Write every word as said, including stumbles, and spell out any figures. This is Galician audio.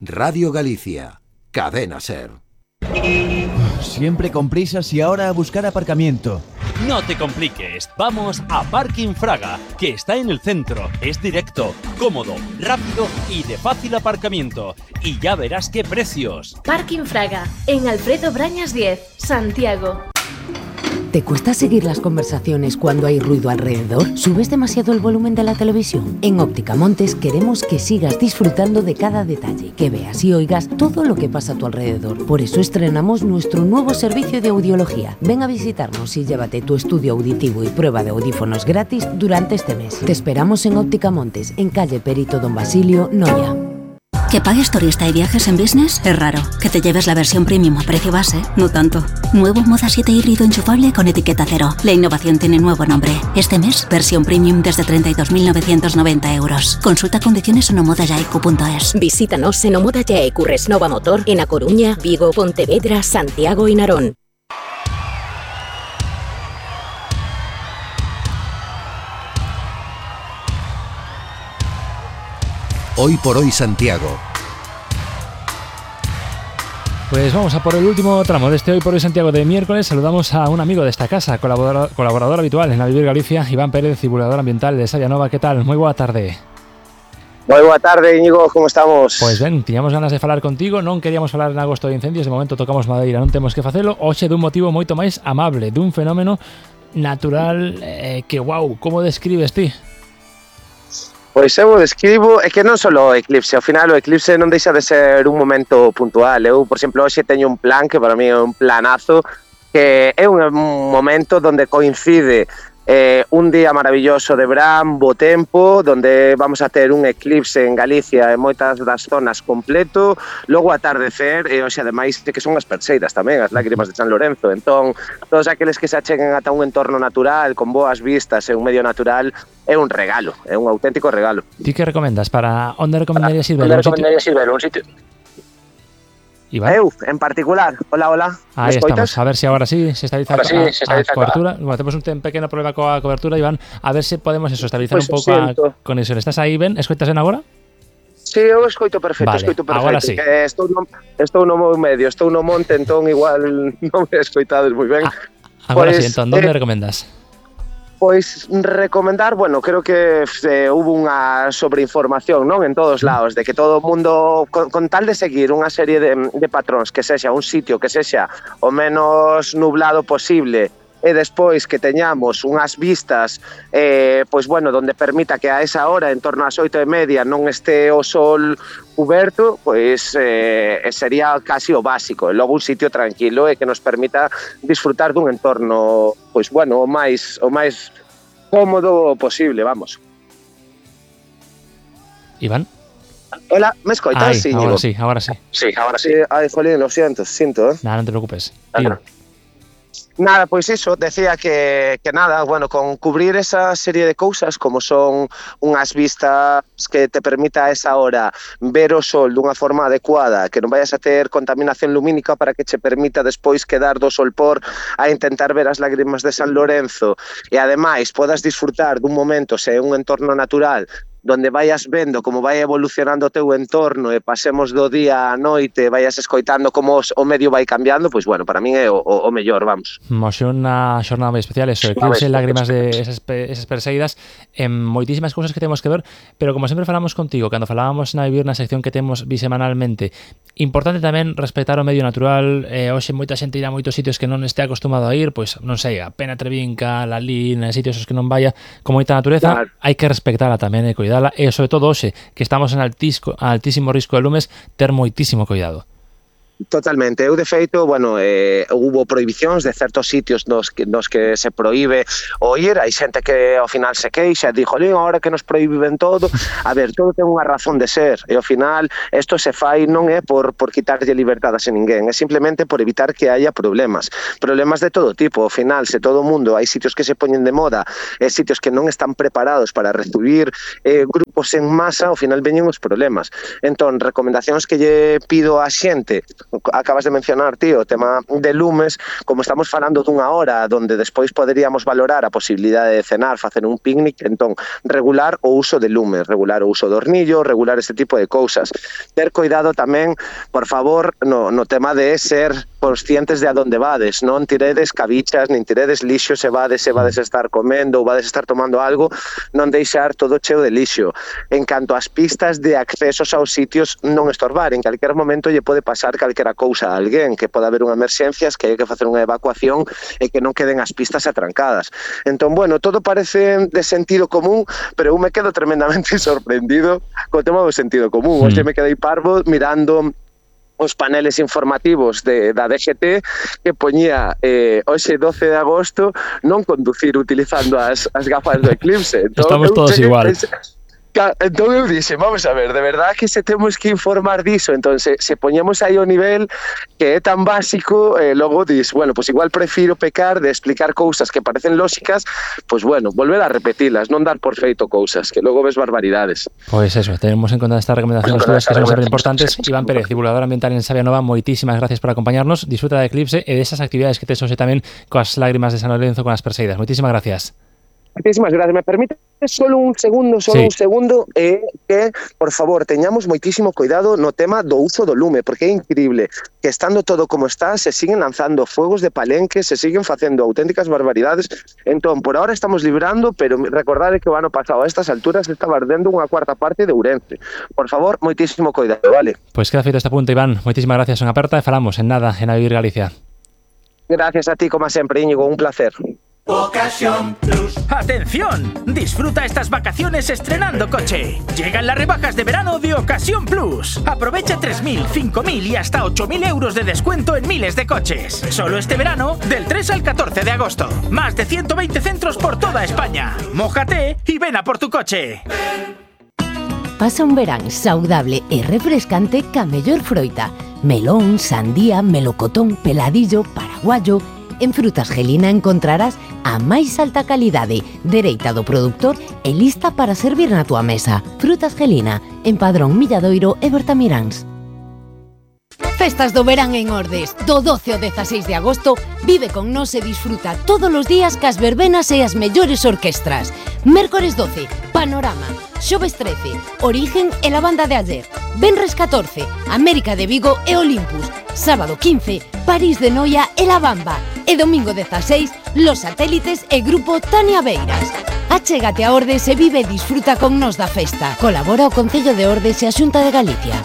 Radio Galicia, Cadena Ser. Siempre con prisas y ahora a buscar aparcamiento. No te compliques, vamos a Parking Fraga, que está en el centro, es directo, cómodo, rápido y de fácil aparcamiento. Y ya verás qué precios. Parking Fraga, en Alfredo Brañas diez, Santiago. ¿Te cuesta seguir las conversaciones cuando hay ruido alrededor? ¿Subes demasiado el volumen de la televisión? En Óptica Montes queremos que sigas disfrutando de cada detalle, que veas y oigas todo lo que pasa a tu alrededor. Por eso estrenamos nuestro nuevo servicio de audiología. Ven a visitarnos y llévate tu estudio auditivo y prueba de audífonos gratis durante este mes. Te esperamos en Óptica Montes, en calle Perito Don Basilio, Noia. Que pagues turista y viajes en business es raro. Que te lleves la versión premium a precio base, no tanto. Nuevo Moda siete híbrido enchufable con etiqueta cero. La innovación tiene nuevo nombre. Este mes, versión premium desde treinta y dos mil novecientos noventa euros. Consulta condiciones en omodayaicu punto es. Visítanos en Omodayaicu Resnova Motor en A Coruña, Vigo, Pontevedra, Santiago y Narón. Hoy por hoy Santiago. Pues vamos a por el último tramo de este Hoy por hoy Santiago de miércoles. Saludamos a un amigo de esta casa, colaborador, colaborador habitual en la Vivir Galicia, Iván Pérez, divulgador ambiental de Sayanova. ¿Qué tal? Muy buena tarde. Moi boa tarde, Íñigo, como estamos? Pois ben, tiñamos ganas de falar contigo, non queríamos falar en agosto de incendios, de momento tocamos madeira, non temos que facelo, hoxe dun motivo moito máis amable, dun fenómeno natural eh, que, wow, como describes ti? Pois eu describo, é que non só o eclipse, ao final o eclipse non deixa de ser un momento puntual. Eu, por exemplo, hoxe teño un plan que para mí é un planazo, que é un momento onde coincide eh, un día maravilloso de verán, bo tempo, onde vamos a ter un eclipse en Galicia en moitas das zonas completo, logo atardecer, e hoxe ademais que son as Perseidas tamén, as lágrimas de San Lorenzo. Entón, todos aqueles que se acheguen ata un entorno natural, con boas vistas e un medio natural, é un regalo, é un auténtico regalo. Ti que recomendas? Para onde recomendarías ir ver? Onde recomendarías ir ver? Un sitio... Iván. Eu, en particular. Hola, hola. Ahí estamos. A ver si ahora sí se estabiliza ahora sí, a, se estabiliza a cobertura. Bueno, tenemos un pequeno problema coa cobertura, Iván. A ver se podemos eso, estabilizar pues un pouco a conexión. Estás aí, Ben? Escoitas ben agora? Sí, eu escoito perfecto, vale, escoito perfecto. Agora sí. Que estou no, estou no medio, estou no monte, entón igual non me escoitades moi ben. Ah, agora pues, sí, entón, onde eh, recomendas? Pois recomendar, bueno, creo que eh, hubo unha sobreinformación, non, en todos lados, de que todo o mundo, con, con tal de seguir unha serie de, de patróns, que sexa un sitio que sexa o menos nublado posible, e despois que teñamos unhas vistas eh, pois bueno, donde permita que a esa hora, en torno ás oito e media, non este o sol cuberto, pois eh, sería casi o básico. E logo un sitio tranquilo e que nos permita disfrutar dun entorno, pois bueno, o máis o máis cómodo posible, vamos. Iván? Hola, ¿me escoitas? Sí, ahora sí, ahora sí. Sí, ahora sí. Ay, jolín, lo siento, siento, ¿eh? Nada, non te preocupes. Nada. Nada, pois iso, decía que, que nada, bueno, con cubrir esa serie de cousas como son unhas vistas que te permita a esa hora ver o sol dunha forma adecuada, que non vayas a ter contaminación lumínica para que che permita despois quedar do solpor a intentar ver as lágrimas de San Lorenzo e ademais podas disfrutar dun momento, se é un entorno natural, donde vayas vendo como vai evolucionando o teu entorno e pasemos do día á noite, vayas escoitando como o medio vai cambiando, pois bueno, para min é o, o, o mellor, vamos. Moxe unha xornada moi especial, eso, eclipse, lágrimas de esas, esas Perseidas, en moitísimas cousas que temos que ver, pero como sempre falamos contigo, cando falábamos na Vivir, na sección que temos bisemanalmente, importante tamén respetar o medio natural. eh, hoxe moita xente irá a moitos sitios que non este acostumado a ir, pois non sei, a Pena Trevinca, la Lina, sitios os que non vaya, con moita natureza, claro. Hai que respectala tamén e cuidar e sobre todo hoxe, que estamos en altisco, altísimo risco de lumes, ter moitísimo cuidado. Totalmente. Eu, de feito, bueno, eh, hubo prohibicións de certos sitios nos que, nos que se proíbe o ir. Hai xente que ao final se queixa e dixo, ahora que nos prohíben todo. A ver, todo ten unha razón de ser. E ao final, isto se fai non é por, por quitarlle libertades a ninguén, é simplemente por evitar que haya problemas. Problemas de todo tipo. Ao final, se todo o mundo, hai sitios que se poñen de moda, e sitios que non están preparados para recibir eh, grupos en masa, ao final veñen os problemas. Entón, recomendacións que lle pido á xente, acabas de mencionar, tío, o tema de lumes, como estamos falando dunha hora donde despois poderíamos valorar a posibilidade de cenar, facer un picnic, entón, regular o uso de lumes, regular o uso do hornillo, regular este tipo de cousas. Ter cuidado tamén, por favor, no, no tema de ser conscientes de a donde vades, non tiredes cabichas, nin tiredes lixo se vades, se vades a estar comendo ou vades a estar tomando algo, non deixar todo cheo de lixo. En canto ás pistas de accesos aos sitios, non estorbar, en calquer momento lle pode pasar calquera cousa a alguén, que pode haber unha emerxencias, que hai que facer unha evacuación e que non queden as pistas atrancadas. Entón, bueno, todo parece de sentido común, pero eu me quedo tremendamente sorprendido co tema do sentido común. Hoxe me quedei parvo mirando os paneles informativos de, da D G T que poñía eh, hoxe doce de agosto non conducir utilizando as, as gafas do eclipse. Entón, estamos todos igual. Pensé, entón eu dixe, vamos a ver, de verdad que se temos que informar diso, entón se, se poñemos aí o nivel que é tan básico, eh, logo dis, bueno, pues igual prefiro pecar de explicar cousas que parecen lóxicas, pues bueno, volver a repetilas, non dar por feito cousas, que logo ves barbaridades. Pois pues eso, tenemos en conta estas recomendacións todas que son sempre importantes. Iván Pérez, divulgador ambiental en Sabia Nova, moitísimas gracias por acompañarnos, disfruta da eclipse e desas actividades que tes hoxe tamén coas lágrimas de San Lorenzo, con as Perseidas. Moitísimas gracias. Muchísimas gracias. Me permite solo un segundo, solo sí. un segundo, eh, que, por favor, teñamos moitísimo cuidado no tema do uso do lume, porque é increíble que estando todo como está, se siguen lanzando fuegos de palenque, se siguen facendo auténticas barbaridades. Entón, por ahora estamos librando, pero recordade que o ano pasado a estas alturas estaba ardendo unha cuarta parte de Ourense. Por favor, moitísimo cuidado, vale? Pois pues queda feito este punto, Iván. Moitísimas gracias, son aperta e falamos en nada en A Vivir Galicia. Gracias a ti, como sempre, Íñigo, un placer. Ocasión Plus. ¡Atención! Disfruta estas vacaciones estrenando coche. Llegan las rebajas de verano de Ocasión Plus. Aprovecha tres mil, cinco mil y hasta ocho mil euros de descuento en miles de coches. Solo este verano, del tres al catorce de agosto. Más de ciento veinte centros por toda España. Mójate y ven a por tu coche. Pasa un verán saudable e refrescante ca mellor froita. Melón, sandía, melocotón, peladillo, paraguayo. En Frutas Gelina encontrarás a máis alta calidade, dereita do produtor e lista para servir na tua mesa. Frutas Gelina, en Padrón, Milladoiro e Bertamiráns. Festas do verán en Ordes. Do doce ao dezaseis de agosto, vive con nós e disfruta todos os días cas verbenas e as mellores orquestras. Mércores doce, Panorama. Xoves trece, Origen e la banda de ayer. Venres catorce, América de Vigo e Olympus. Sábado quince, París de Noia e La Bamba. E domingo dezaseis, Los Satélites e Grupo Tania Beiras. Achégate a Ordes e vive e disfruta con nós da festa. Colabora o Concello de Ordes e a Xunta de Galicia.